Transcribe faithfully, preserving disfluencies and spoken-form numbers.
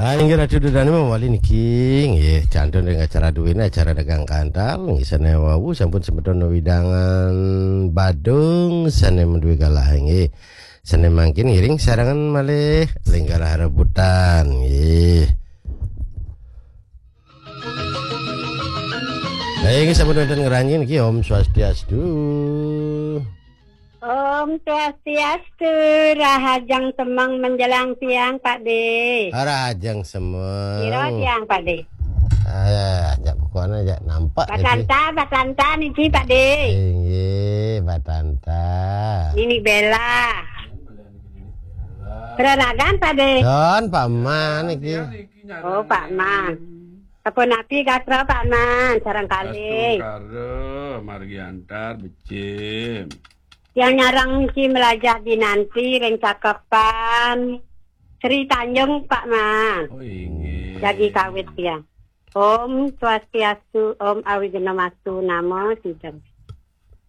Ah, inggih Ratu Dudane mawali niki, nggih, kantun ring acara duwene, acara dagang kantal, nggih, sane wau sampun semeton wewidangan Badung sane maduwe galah, nggih. Sane mangkin ngiring sarengan malih Linggarah Rebutan, nggih. Baik, sampun wonten ngranjing niki, Om Swastiastu. Om Swastiastu, rahajeng semeng menjelang siang, Pak De. Rahajeng semeng. Pira siang, Pak De? Ah, ya, jak pokoknya jak nampak niki. Batanta, Batanta niki, Pak De. Inggih, Batanta. Nini Bella. Beralagan, Pak De. Don, Pak Man niki. Oh, Pak Man. Sapunapi gatra, Pak Man, sareng kalih. Astungkara, margi antar, becik. Yang nyareng niki Melajah Dinanti ring Cakepan Sri Tanjung, Pak Man. Oh, inggih. Jagi kawit ya. Om Swastiastu, Om Awighnamastu Namo Sidham.